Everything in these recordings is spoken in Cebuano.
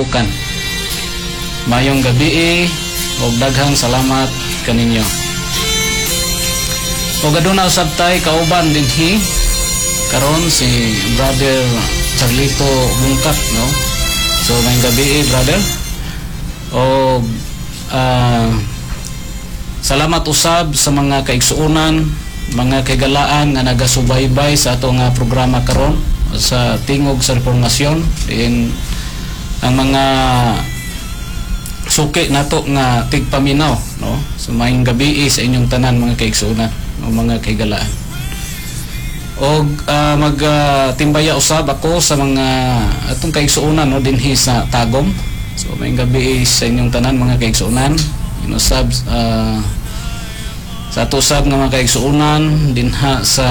kalabukan. Maayong gabii ug daghang salamat kaninyo. Ug aduna usab tay kauban dinhi karon, si Brother Charlito Bungkat, no? So maayong gabii, brother. Og salamat usab sa mga kaigsuonan, mga kahigalaan nga nagasubaybay sa ato nga programa karon sa Tingog sa Reformasyon din, ang mga suki nato nga tigpaminaw, no? So maayong gabii sa inyong tanan, mga kaigsuonan o mga kahigalaan. Og mag timbaya usab ako sa mga atong kaigsuonan, no, dinhi sa Tagum. So maayong gabii sa inyong tanan, mga kaigsuonan. Inusab sa ato usab nga mga kaigsuonan dinha sa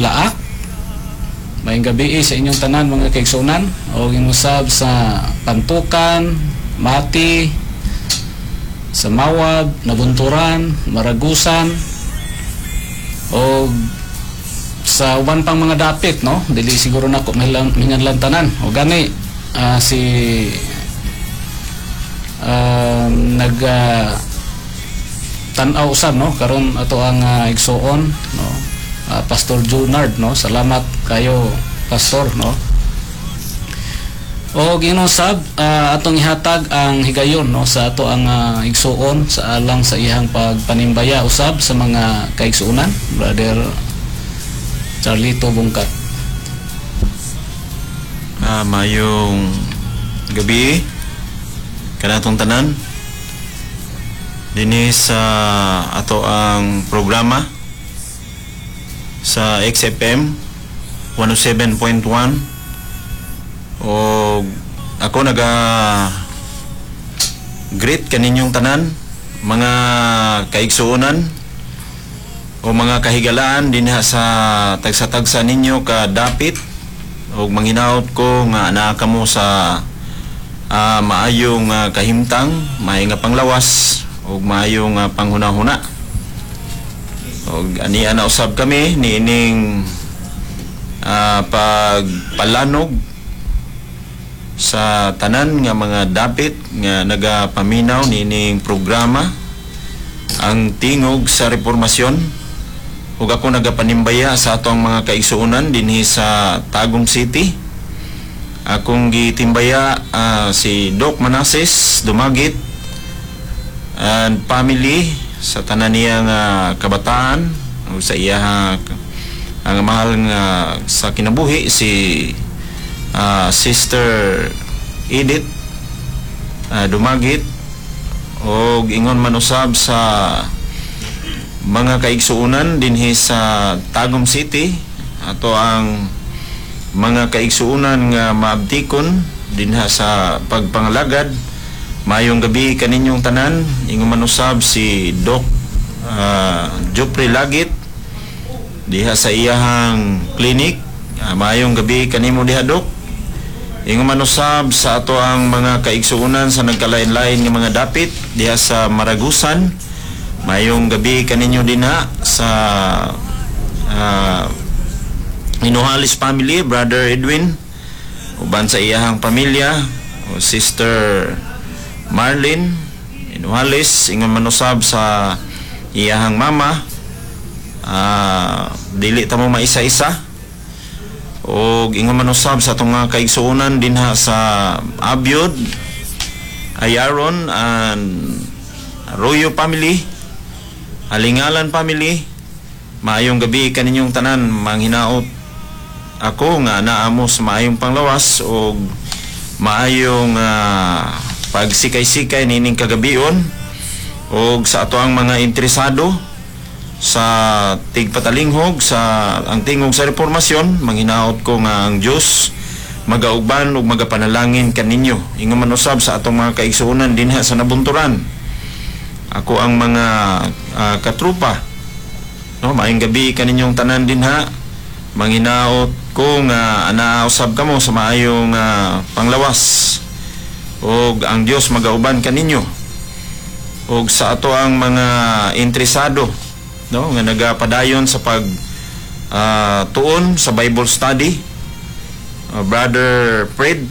Laak. Maayong gabii sa inyong tanan, mga kaigsuonan. O inusab sa Pantukan, Mati, sa Mawab, Nabunturan, Maragusan o sa uban pang mga dapit, no? Dili siguro nako mahinganlan tanan. O gani si nag tan-aw usab, no, karon ato ang igsuon, no, Pastor Junard, no? Salamat kayo, Pastor, no? O ginusab atong ihatag ang higayon, no, sa ato ang igsuon sa alang sa iyang pagpanimbaya usab sa mga kaigsuonan, Brother Charlito Bungkat. Maayong gabii kanatong tanan dinhi sa ato ang programa sa XFM 107.1. O ako naga greet kaninyong tanan, mga kaigsuonan o mga kahigalaan dinha sa tagsa-tagsa ninyo ka dapit, ug manghinaot ko nga naa kamo sa maayong kahimtang, maayo nga panglawas ug maayong panghunahuna. Ug ania na usab kami niining pagpalanog sa tanan nga mga dapit nga nagapaminaw niining programa, ang Tingog sa Reformasyon. Ug ako nagapanimbaya sa atong mga kaigsuonan dinhi sa Tagum City. Akong gitimbaya si Doc Manases Dumagit and family, sa tanan niya nga kabataan ug sa iya ang mahal nga sa kinabuhi, si Sister Edith Dumagit, og ingon man usab sa mga kaigsuonan dinhi sa Tagum City, ato ang mga kaigsuonan nga maabtikon dinha sa pagpangalagad. Maayong gabi kaninyong tanan. Ingon man usab si Doc Jopre Lagit diha sa iyahang clinic. Maayong gabi kanimo diha, Doc. Ingon man usab sa ato ang mga kaigsuonan sa nagkalain-lain nga mga dapit diha sa Maragusan. Maayong gabi kaninyo dinha sa Inuhalis family, Brother Edwin uban sa iyahang pamilya, o Sister Marlene Inuhalis, ingon man usab sa iyahang mama. Dili ta mo maisa-isa. Og ingon man usab sa atong mga kaigsuonan dinha sa Abyod, Ayaron and Arroyo family, Alingalan family, maayong gabi kaninyong tanan. Manghinaot ako nga naa mo sa maayong panglawas og maayong pagsikay-sikay nining kagabion. Og sa ato ang mga interesado sa tigpatalinghog sa ang Tingog sa Reformasyon, manghinaot ko nga ang Dios magauban ug magapanalangin kaninyo. Ingon man usab sa atong mga kaigsuonan dinha sa Nabunturan, ako ang mga katrupa, no? Maayong gabi kaninyong tanan dinha. Manghinaot ko nga anaa usab kamo sa maayong panglawas ug ang Dios magauban kaninyo. Ug sa ato ang mga interesado, no, nga nagapadayon sa pag tuon sa Bible study, Brother Fred